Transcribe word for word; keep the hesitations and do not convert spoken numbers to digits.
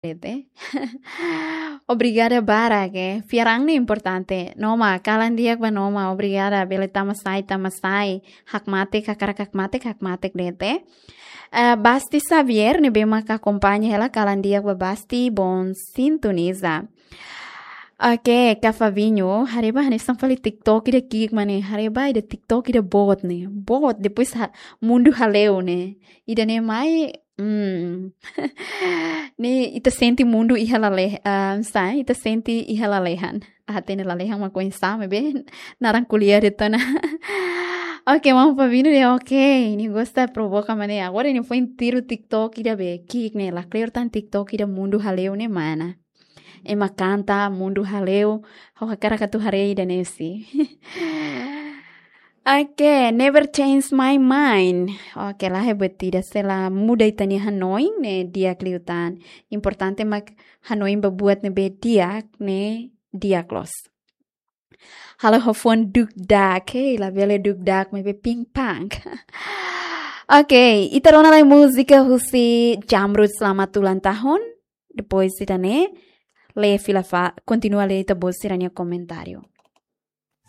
Dete. Obrigada barak, eh. Fiar an ne'e importante. Noma, kalan di'ak ba Noma. Obrigada. Bele tama sai, tama sai. Hakmatek, hakarak hakmatek, hakmatek dete. Eh, Basti Xavier, ne'ebé mak akompaña hela, kalan di'ak ba Basti, bom sintoniza. Oke, Kak Fabinho, haree ba hanesan fali TikTok ida ki'ik mak ne'e, haree ba ida TikTok ida boot ne'e. Boot, depois ha-, mundu hale'u ne'e. Ida-ne'e mai, hmm. Ne'e ita sente mundu iha lalehan, ah, sai, ita sente iha lalehan. Ah, hatene lalehan mak oinsá, maibé naran ko'alia de'it ona. Oke, maun Fabinho dehan, oke, nia gosta provoka mak ne'e. Agora nia foin tiru TikTok ida be ki'ik ne'e, lakleur tan TikTok ida mundu hale'u ne'e mana. Ema kanta mundu hale'u, ha'u hakarak atu haree ida-ne'e si. Oke, never change my mind. Oke, la'ós buat ida sei la muda ita-nia hanoin ne'e di'ak liután. Importante mak hanoin ba buat ne'ebé di'ak ne'e di'ak loos. Halo ho fon duk dak, hei, labele duk dak, maibé ping pang. Oke, ita rona lai múzika husi Jamrud, selamat ulang tahun. Depois ita-nia, lee fila fali, kontinua lee ita-boot sira-nia komentáriu.